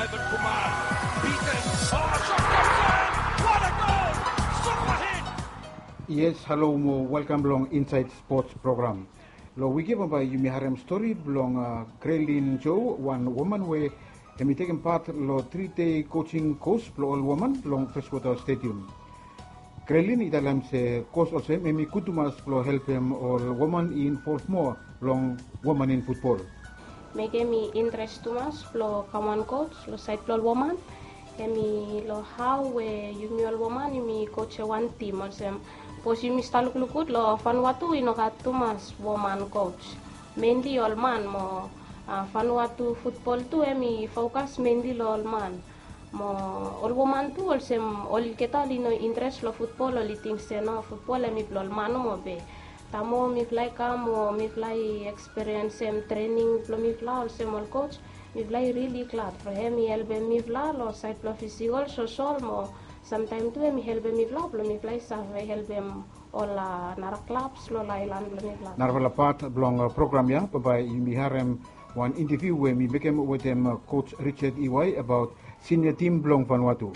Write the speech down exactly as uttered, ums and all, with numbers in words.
Kumar, beaten. Oh, shot, what a goal! Super hit! Yes, halo mo welkam long Inside Sports program. Long wik ya bambae yumi harem stori blong Grelin Jo, wan woman we hemi tekem pat long tri dei coaching course blong ol woman long Freshwater Stadium. Grelin i talem se course olsem hemi gud tumas blong helpem ol woman i involve moa long woman in futbol. Mekem mi interes tumas blong kam wan coach long saed blong ol woman. Hemi long hao we yumi ol woman yumi coach ya wan tim olsem, sapos yumi stap lukluk gud long Vanuatu i no gat tumas woman coach. Mainly ol man mo Vanuatu futbol tu hemi fokas mainly long ol man. Mo ol woman tu olsem olgeta oli no interes long futbol, oli ting se no, futbol hemi blong ol man nomo be. Taem mifala i kam mo mifala i ekspiriensem trening blong mifala olsem ol coach, mifala i rili glad from hemi helpem mifala long saed blong fisikol, sosol mo samtaem tu hemi helpem mifala blong mifala i save helpem ol nara klabs long aelan blong mifala. Narafala pat blong program ya bambae yumi harem wan inteviu we mi mekem wetem coach Richard Iwai abaot sinia tim blong Vanuatu.